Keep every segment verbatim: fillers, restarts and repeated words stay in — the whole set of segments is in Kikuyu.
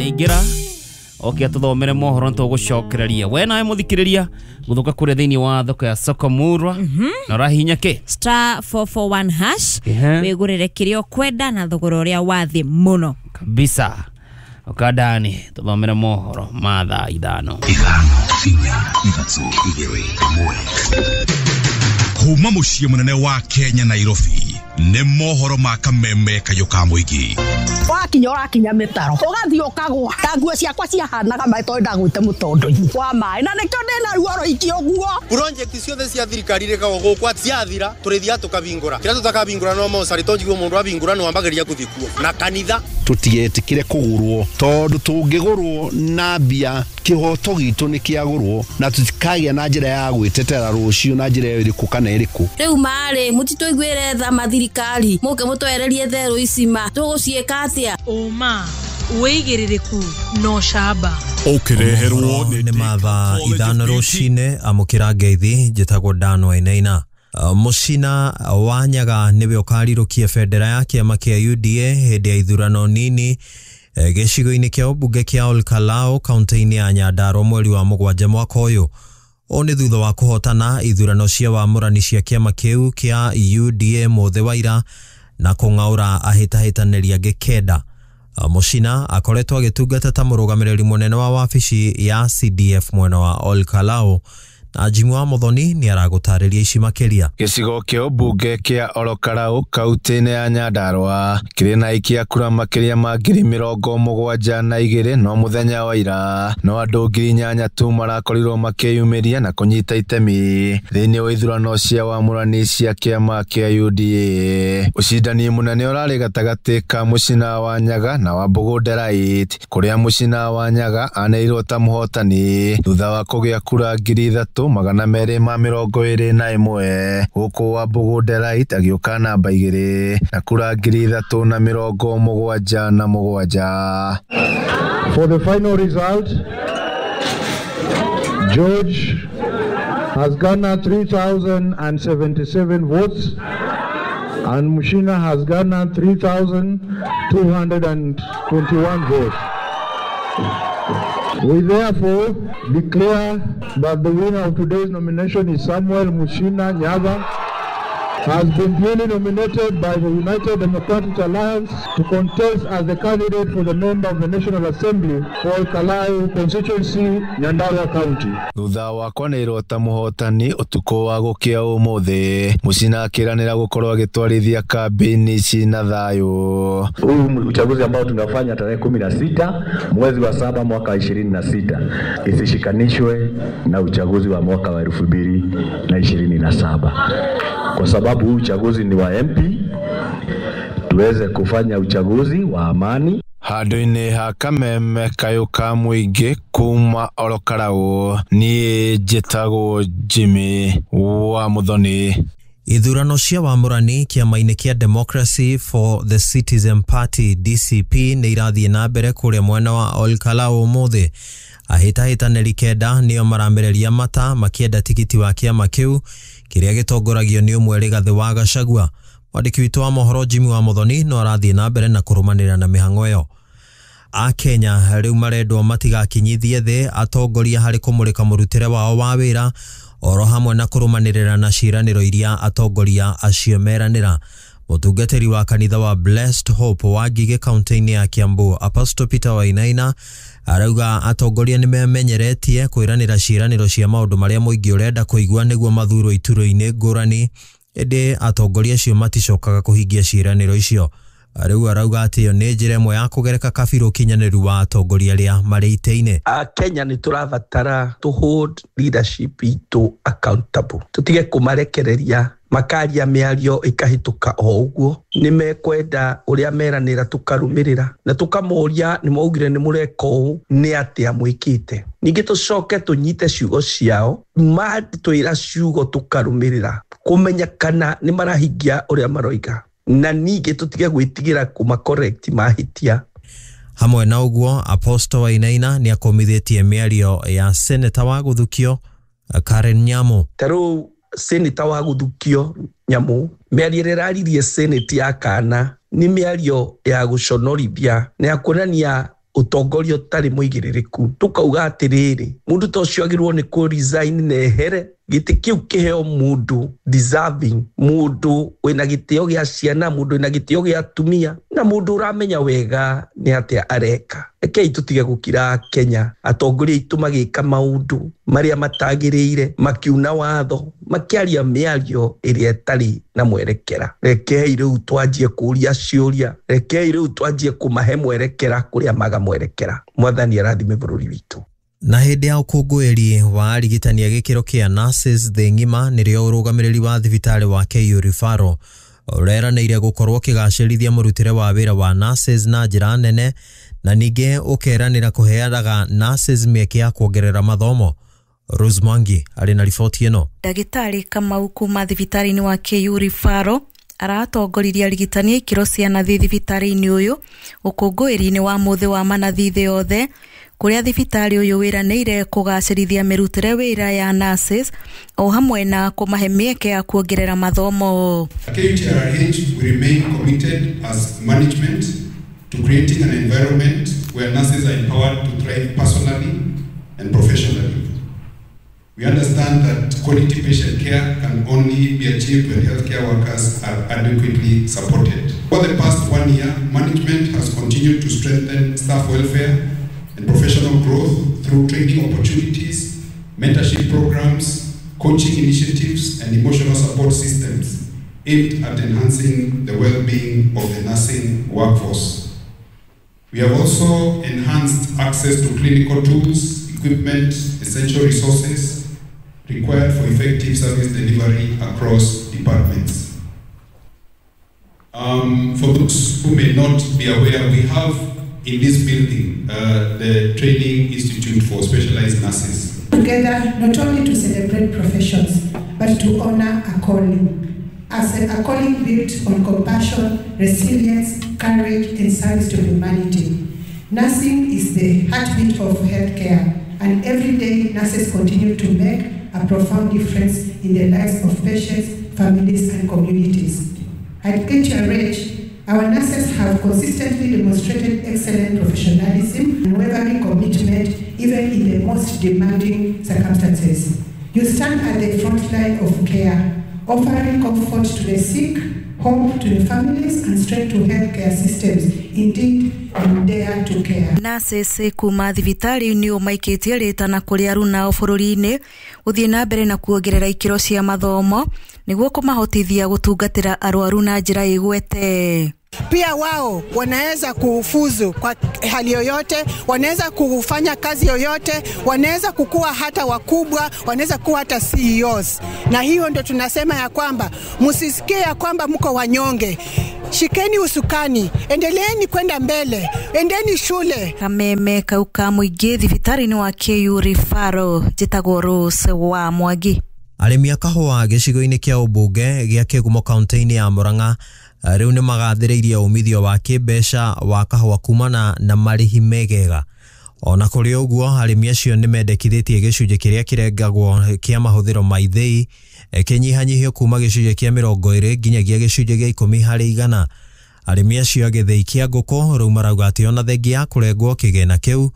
Aingĩra oke atũthomere mohoro nĩtũgũcokereria. We nawe mũthikĩrĩria gũthũka kũrĩa thĩinĩ wa thoko ya Soko Murwa na ũrahihinya kĩ? Star four four one hash. Ehe. Wĩgũrĩre kĩrĩa ũkwenda na thogora ũrĩa wa thĩ mũno. Kabisa. Ũkandani tũthomere mohoro ma thaa ithano. Ithano, inya, ithatũ, igĩrĩ, ĩmwe. Kuma mũciĩ mũnene wa Kenya, Nairobi, nĩ mohoro ma kameme kayũ ka mũingĩ. Wakinya ũrakinya mĩtaro, ũgathiĩ ũkagwa ta nguo ciakwa ciahanaga maĩ tondũ ndagwĩte mũtondo-inĩ wa maĩ, na nĩkĩo ndĩna ruo rũingĩ ũguo. Project ciothe cia thirikari rĩkagwo gũkũ ciathira, tũrĩthiaga tũkabingũra kĩrĩa tũtakabingũra no mocarĩ tondũ mũndũ abingũra nĩ wambagĩrĩria gũthiĩ kuo na kanitha. Tũtigetĩkĩre kũgũrwo, tondũ tũngĩgũrwo na mbia, kĩhoto gitũ nĩ kĩagũrwo na tũtikagĩa na njĩra ya gwĩtetera rũciũ na njĩra ĩrĩkũ kana ĩrĩkũ. Rĩu marĩ mũtitũiguĩre tha mathirikari, mũke mũtwererie therũ ici, ma tũgũciĩka atĩa? Ũma, wĩigĩrĩrĩku na ũcamba. Ũkĩreherwo nĩ mathaa ithano rũcinĩ. Amũkĩra ngeithi, njĩtagwo Dan Wainaina. Uh, Mũcina wa Nyaga nĩwe ũkarirũkia bendera ya kĩama kĩa U D A hĩndĩ ya ithurano nini eh, gĩcigo-inĩ kĩa ũmbunge kĩa Olkalou, kaunti-inĩ ya Nyandarua, mweri wa mũgwanja mwaka ũyũ. Ũũ nĩ thutha wa kũhotana ithurano cia wamũrani cia kĩama kĩu kĩa U D A mũthĩ wa ira na kũng'aũra ahĩtahĩtanĩri angĩ kenda. Mũcina akoretwo agĩtungata ta mũrũgamĩrĩri mũnene wa wabici ya C D F mwena wa Olkalou, na Jimmy wa Muthoni nĩ aragũtarĩria ici makĩria. Gĩcigo kĩa ũmbunge kĩa Olokarau kaunti-inĩ ya Nyandarua kĩrĩ na aikia kura makĩria ma ngiri mĩrongo mũgwanja na igĩrĩ, no mũthenya wa ira no andũ ngiri inyanya tu marakorirwo makĩyumĩria na kũnyita itemi thĩinĩ wa ithurano cia wamũrani cia kĩama kĩa U D A. Ũcindani mũnene ũrarĩ gatagatĩ ka Mũcina wa Nyaga na wa Mbũgũ Delight, kũrĩa Mũcina wa Nyaga anĩrĩirwo ta mũhotani thutha wa kũgĩa kura ngiri ithatũ magana merĩ ma mĩrongo ĩrĩ na ĩmwe, gũkũ wa Mbũgũ Delight agĩũka namba igĩrĩ na kura ngiri ithatũ na mĩrongo mũgwanja na mũgwanja. For the final result, George has garnered three thousand seventy-seven votes and Mushina has garnered three thousand two hundred twenty-one votes. We therefore declare that the winner of today's nomination is Samuel Mushina Nyaga, has been duly nominated by the United Democratic Alliance to contest as the candidate for the member of the National Assembly for Kalau constituency, Nyandarua County. Thutha wa kwanĩrĩrwo ta mũhotani ũtukũ wa gũkĩa ũmũthĩ, Mũcina akĩranĩra gũkorwo agĩtwarithia kambĩini ici na thayũ. Huu uchaguzi ambao tunafanya tarehe kumi na sita mwezi wa saba mwaka ishirini na sita isishikanishwe na uchaguzi wa mwaka wa elfu mbili na ishirini na saba kwa sababu huu uchaguzi ni wa M P, tuweze kufanya uchaguzi wa amani. Handũ-inĩ ha kameme kayũ ka mũingĩ kuma Olokarau, niĩ njĩtagwo Jimmy wa Muthoni. Ithurano cia wamũrani kĩama-inĩ kĩa Democracy for the Citizen Party, D C P, nĩ irathiĩ na mbere kũrĩa mwena wa Olkalau ũmũthĩ. Ahĩtahĩtanĩri kenda nĩo maramereria mata makĩenda tigiti wa kĩama kĩu kĩrĩa gĩtongoragio nĩ ũmwe Rigathĩ wa Gachagua. Mwandĩki witũ wa mohoro Jimmy wa Muthoni no arathiĩ na mbere na kũrũmanĩrĩra na mĩhang'o ĩyo. Akenya rĩu marendwo matigakinyithie thĩ atongoria harĩ kũmũrĩka mũrutĩre wao wa wĩra, oro hamwe na kũrũmanĩrĩra na ciĩranĩro iria atongoria acio meranĩra. Mũtungatĩri wa kanitha wa Blessed Hope wa Ngigĩ, kaunti-inĩ ya Kiambu, Apostle Peter Wainaina, arauga atongoria nĩ memenyeretie kwĩranĩra ciĩranĩro cia maũndũ marĩa mũingĩ ũrenda kũigua nĩguo mathurwo iturwa-inĩ ngũrani, ĩndĩ atongoria acio maticokaga kũhingia ciĩranĩro icio. Rĩu arauga atĩ ĩyo nĩ njĩra ĩmwe ya kũgereka kabirũ ũkinyanĩru wa atongoria arĩa marĩ itĩ-inĩ. Akenya nĩ tũrabatara to hold leadership itũ accountable, tũtige kũmarekereria makaria mĩario ĩkahĩtũka o ũguo. Nĩ mekwenda ũrĩa meranĩra tũkarũmĩrĩra na tũkamoria, nĩ mwaugire nĩ mũreka ũũ, nĩ atĩa mwĩkĩte? Ningĩ tũcoke tũnyite ciugo ciao, matwĩra ciugo tũkarũmĩrĩra kũmenya kana nĩ marahingia ũrĩa maroiga, na ningĩ tũtige gwĩtigĩra kũma correct mahĩtia. Hamwe na ũguo, Apostle Wainaina nĩ akũmithĩtie mĩario ya seneta wa gũthukio Karen Nyamu. Ta rĩu seneta wa gũthukio Nyamu, mĩario ĩrĩa ĩraririe senate ya kana nĩ mĩario ya gũconorithia na ya kuonania Ũtongoria ũtarĩ mũigĩrĩrĩku tũkauga atĩrĩrĩ, mũndũ ta ũcio agĩrĩirwo nĩ kũ resign na ehere gĩtĩ kĩu kĩheo mũndũ deserving, mũndũ wĩna gĩtĩo gĩa ciana, mũndũ wĩna gĩtĩo gĩa atumia, na mũndũ ũramenya wega nĩ atĩa areka. Rekei tũtige gũkira Kenya atongoria aitũ magĩka maũndũ marĩa matagĩrĩire, makiuna watho, makĩaria mĩario ĩrĩa ĩtarĩ na mwerekera. Rekei rĩu twanjie kũria ciũria, rekei rĩu twanjie kũmahe mwerekera kũrĩa maga mwerekera. Mwathani arathime bũrũri witũ. Na hĩndĩ ya ũkũngũĩri wa arigitani a gĩkĩro kĩa nurses thĩ ng'ima nĩrĩo ũrũgamĩrĩri wa thibitarĩ wa K U Referral ũreranĩire gũkorwo ũkĩgacĩrithia mũrutĩre wa wĩra wa nurses na njĩra nene, na ningĩ ũkeranĩra kũheanaga nurses mĩeke ya kuongerera mathomo. Rose Mwangi arĩ na riboti ĩno. Ndagĩtarĩ Kamau kuma thibitarĩ-inĩ wa K U Referral aratongoririe arigitani a ikĩro cia nathi thibitarĩ-inĩ ũyũ ũkũngũĩri-inĩ wa mũthĩ wa manathi thĩ yothe, kũrĩa thibitarĩ ũyũ wĩranĩire kũgacĩrithia mĩrutĩre wĩra ya nurses o hamwe na kũmahe mĩeke ya kuongerera mathomo. K U T R H, we remain committed as management to creating an environment where nurses are empowered to thrive personally and professionally. We understand that quality patient care can only be achieved when healthcare workers are adequately supported. For the past one year, management has continued to strengthen staff welfare and professional growth through training opportunities, mentorship programs, coaching initiatives, and emotional support systems aimed at enhancing the well-being of the nursing workforce. We have also enhanced access to clinical tools, equipment, essential resources required for effective service delivery across departments. Um, for those who may not be aware, we have in this building uh, the Training Institute for Specialized Nurses. Together, not only to celebrate professions, but to honor a calling. As a, a calling built on compassion, resilience, courage, and service to humanity. Nursing is the heartbeat of healthcare, and every day nurses continue to make a profound difference in the lives of patients, families, and communities. At K T R H, our nurses have consistently demonstrated excellent professionalism and unwavering commitment, even in the most demanding circumstances. You stand at the front line of care, offering comfort to the sick, hope to the families, and strength to healthcare systems. Indeed, you dare to care. Nurses kuma thibitarĩ-inĩ ũyũ maikĩtie rĩtana kũrĩ arunao bũrũri-inĩ gũthiĩ na mbere na kuongerera ikĩro cia mathomo nĩguo kũmahotithia gũtungatĩra arwaru na njĩra ĩgwete. Pia wao wanaweza kufuzu kwa hali yoyote, wanaweza kufanya kazi yoyote, wanaweza kukua hata wakubwa, wanaweza kuwa hata C E Os. Na hiyo ndo tunasema ya kwamba msisikie ya kwamba mko wanyonge. Shikeni usukani, endeleeni kwenda mbele, endeni shule. Kameme kau ka mũingĩ thibitarĩ-inĩ wa K U Referral, njĩtagwo Rose wa Mwangi. Arĩmi a kahũa gĩcigo-inĩ kĩa ũmbunge gĩa Kĩgumo kaunti-inĩ ya Murang'a rĩu nĩ magathĩrĩirie umithio wa kĩmbeca wa kahũa kumana na marĩhi megega. Ona kũrĩ ũguo, arĩmi acio nĩ mendekithĩtie gĩcunjĩ kĩrĩa kĩrengagwo kĩa mahũthĩro ma ithĩi kĩnyihanyihio kuma gĩcunjĩ kĩa mĩrongo ĩrĩ nginyagia gĩcunjĩ gĩa ikũmi harĩ igana. Arĩmi acio a gĩthĩi kĩa ngũkũ rĩu marauga atĩ ona thengia ya kũrengwo kĩgĩna kĩu,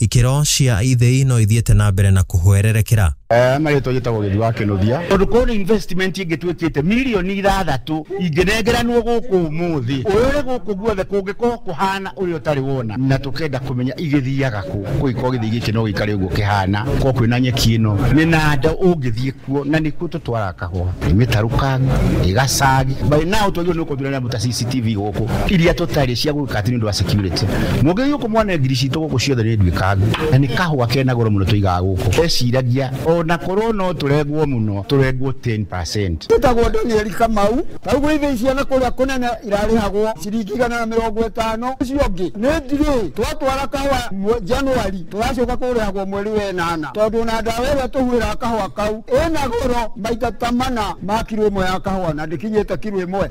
ikĩro cia ithĩi no ithiĩte na mbere na kũhwererekera. Marĩtwa njĩtagwo Gĩthi wa Kĩnũthia, tondũ kũrĩ investment ĩngĩ twĩkĩte mirioni ithathatũ ingĩnengeranwo gũkũ ũmũthĩ ũyũ ũrĩ gũkũ guothe kũngĩkorwo kũhana ũrĩa ũtarĩ wona, na tũkenda kũmenya igĩthiaga kũ kũgĩkorwo gĩthĩi gĩkĩ no gĩikare ũguo kĩhana korwo kwĩna nyeki ĩno nĩ nanda ũngĩthiĩ kuo, na nĩkuo tũtwaraga kahũa ĩ mĩtarũkangi ĩ gacagi. By now twagĩrĩirwo nĩ gũkorwo twĩna ta C C T V gũkũ iria tũtarĩ cia gwĩka atĩ nĩ ũndũ wa security. Mũngĩthiĩ gũkũ mwane ngiri citũ gũkũ ciothe nĩ nduĩkangu, na nĩ kahũa kena goro mũno tũigaga gũkũ. Eciragia ona korwo no tũrengwo mũno, tũrengwo ten percent. Tũtagwo Daniel Kamau. Tarĩu gwĩ ciana kũrĩa kũnene irarĩhagwo ciringi igana na mĩrongo ĩtano, ũcio ũngĩ nĩ ndirĩ twatwara kahũa Januari tũracoka kũrĩhagwo mweri wa ĩnana, tondũ na ndawa ĩrĩa tũhuhĩraga kahũa kau ĩna goro maita ta mana ma kiro ĩmwe ya kahũa na ndĩkinyĩte kiro ĩmwe.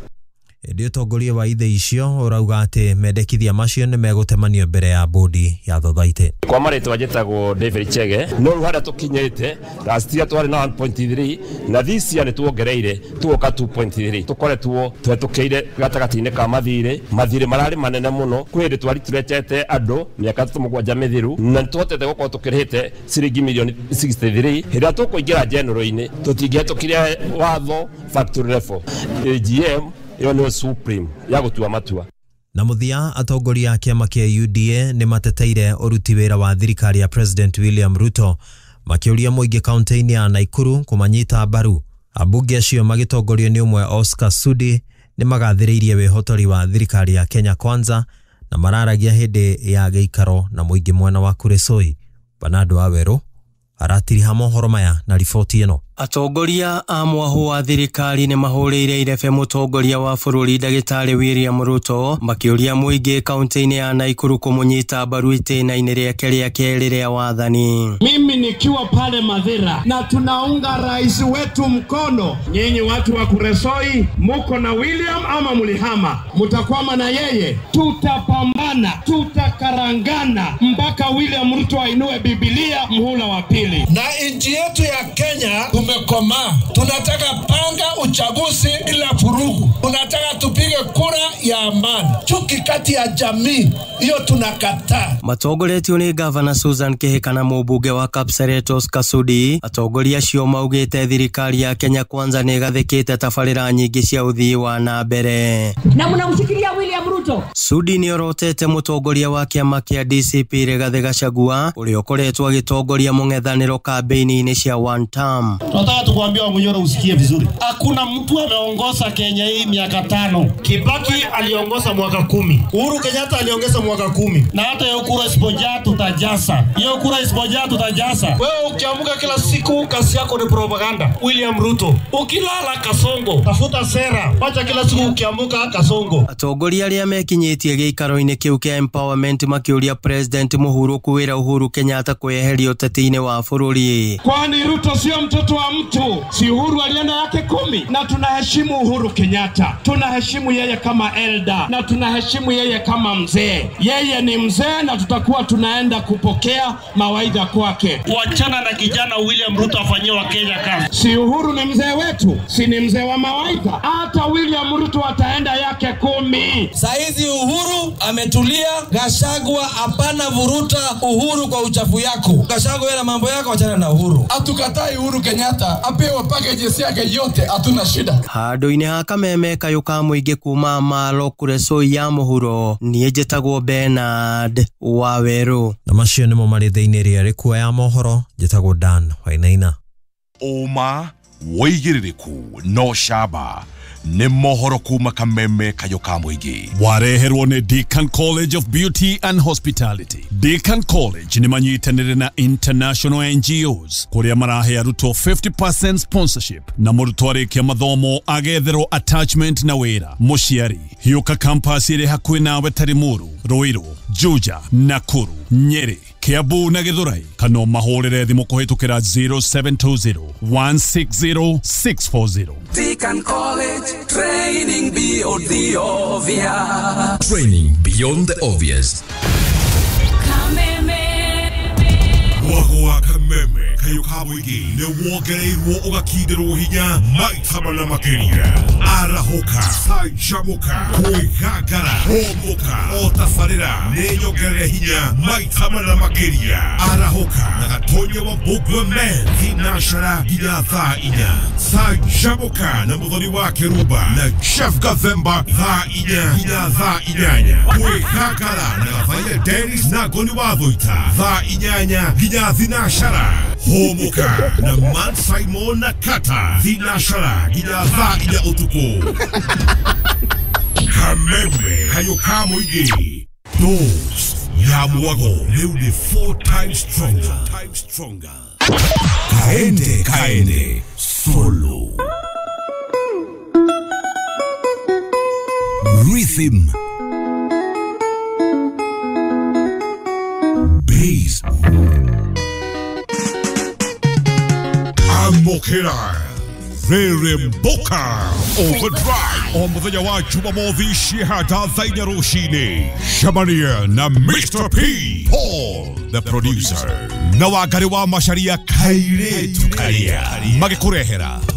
Ĩndĩ ũtongoria wa ithĩi icio ũrauga atĩ mendekithia macio nĩ megũtemanio mbere ya bodi ya thothaitĩ. Kwa marĩtwa njĩtagwo David Chege, no rĩu harĩa tũkinyĩte last year twarĩ na one point three na this year nĩ tuongereire tuoka two point three. Tũkoretwo tũhetũkĩire gatagatĩ-inĩ ka mathirĩ, mathirĩ mararĩ manene mũno. Kwĩ hĩndĩ twari tũretete andũ mĩaka ĩtatũ mũgwanja mĩthiru na nĩ tũhotete gũkorwo tũkĩrĩhĩte ciringi milioni sixty three. Hĩndĩ ĩrĩa tũkũingĩra general-inĩ tũtingĩhetũkire watho factory level. A G M ĩyo nĩyo supreme ya gũtua matua. Na mũthia, atongoria a kĩama kĩa U D A nĩ mateteire ũruti wĩra wa thirikari ya President William Ruto makĩũria mũingĩ kaunti-inĩ ya Nakuru kũmanyita mbaru. Ambunge acio magĩtongorio nĩ ũmwe Oscar Sudi nĩ magathĩrĩirie wĩhotori wa thirikari ya Kenya Kwanza na mararagia hĩndĩ ya gĩikaro na mũingĩ mwena wa Kuresoi. Bernardo Wawerũ aratiriha mohoro maya na riboti ĩno. Atongoria a mwahu wa thirikari nĩ mahũrĩire irebe mũtongoria wa bũrũri ndagĩtarĩ William Ruto makĩũria mũingĩ kaunti-inĩ ya Nakuru kũmũnyita mbaru itĩna-inĩ rĩake rĩa kerĩ rĩa wathani. Mimi nikiwa pale Mathira na tunaunga rais wetu mkono. Nyinyi watu wa Kuresoi muko na William ama mulihama, mutakwama na yeye. Tutapambana, tutakarangana mpaka William Ruto ainue Biblia muhula wa pili. Na nchi yetu ya Kenya tumekomaa. Tunataka panga uchaguzi bila furugu. Tunataka tupige kura ya amani. Chuki kati ya jamii hiyo tunakataa. Matongoretio nĩ Gavana Susan Kihika na mũmbunge wa Kapseret Oscar Sudi. Atongoria acio maugĩte thirikari ya Kenya Kwanza nĩ ĩgathĩkĩte tabarĩra nyingĩ cia ũthii wa na mbere. Na mnamshikilia William Ruto. Sudi nĩ orotete mũtongoria wa kĩama kĩa D C P Rigathĩ Gachagua ũrĩa ũkoretwo agĩtongoria mũng'ethanĩro kambĩini-inĩ cia one term. Tunataka tukuambia Wamunyoro usikie vizuri. Hakuna mtu ameongoza Kenya hii miaka tano. Kibaki aliongoza mwaka kumi. Uhuru Kenyatta aliongeza mwaka kumi. Na hata hiyo kura isipojaa tutajasa. Hiyo kura isipojaa tutajasa. Wewe ukiamka kila siku kazi yako ni propaganda. William Ruto. Ukilala Kasongo, tafuta sera. Wacha kila siku ukiamka Kasongo. Atongoria arĩa mekinyĩtie gĩikaro-inĩ kĩu kĩa empowerment makĩũria President Mũhuru kwĩra Uhuru Kenyatta kweheria ũteti-inĩ wa bũrũri. Kwani Ruto sio mtoto wa mtu? Si Uhuru alienda yake kumi? Na tunaheshimu Uhuru Kenyatta, tunaheshimu yeye kama elder na tunaheshimu yeye kama mzee. Yeye ni mzee na tutakuwa tunaenda kupokea mawaidha kwake. Wachana na kijana William Ruto afanyie wa Kenya kazi. Si Uhuru ni mzee wetu? Si ni mzee wa mawaidha? Hata William Ruto ataenda yake kumi. Saizi Uhuru ametulia, Gachagua hapana vuruta Uhuru kwa uchafu yako. Gachagua na mambo yako, wachana na Uhuru. Hatukatai Uhuru Kenyatta apewe packages yake yote, hatuna shida. Handũ-inĩ ha kameme kayũ ka mũingĩ kuma Maro Kuresoi ya mũhuro, niĩ njĩtagwo Bernard Wawerũ. Na macio nĩmo marĩ thĩinĩ rĩa rĩkua ya mohoro. Njĩtagwo Dan Wainaina. Ũma wĩigĩrĩrĩku no camba nĩ mohoro kuma kameme kayũ ka mũingĩ. Wareherwo nĩ Deacon College of Beauty and Hospitality. Deacon College nĩ manyitanĩire na international N G Os kũrĩa marahe arutwo fifty percent sponsorship na mũrutwo arĩkia mathomo agetherwo attachment na wĩra. Mũciari hiũka campus ĩrĩ hakuhĩ nawe ta Limuru, Ruiru, Juja, Nakuru, Nyeri, Kiambu na Githurai, kana mahũrĩre thimũ kũhĩtũkĩra zero seven two zero one six zero six four zero. Deacon College, training beyond the obvious. Training beyond the obvious. Mwago wa kameme kayũ ka mũingĩ nĩ wongereirwo ũgakindĩrwo hinya maita mana makĩria. Arahũka, canjamũka, kwĩgangara, hũmũka, o tabarĩra nĩ nyongerere hinya maita mana makĩria. Arahũka na Gatonya wa Mbũgua Men thinacara nginya thaa inya. Canjamũka na Mũthoni wa Kĩrumba na Jeff Gathemba thaa inya nginya thaa inyanya. Kwĩgangara na Gathaia Dennis na Ngoni wa Thũita thaa inyanya nginya thinashara. Hũmũka na Man Simon na Kata thinashara nginya thaa inya ũtukũ. Kameme kayũ ka mũingĩ. Dose ya mwago rĩu nĩ four times stronger. Stronger. Kaende kaende solo. Rhythm. Bass. Amokera. Rĩrĩmbũka Overdrive o mũthenya wa Jumamothi ciĩhata thaa inya rũcinĩ. Cemania na Mister P Paul the producer na Wangari wa Macharia kairĩtu karia magĩkũrehera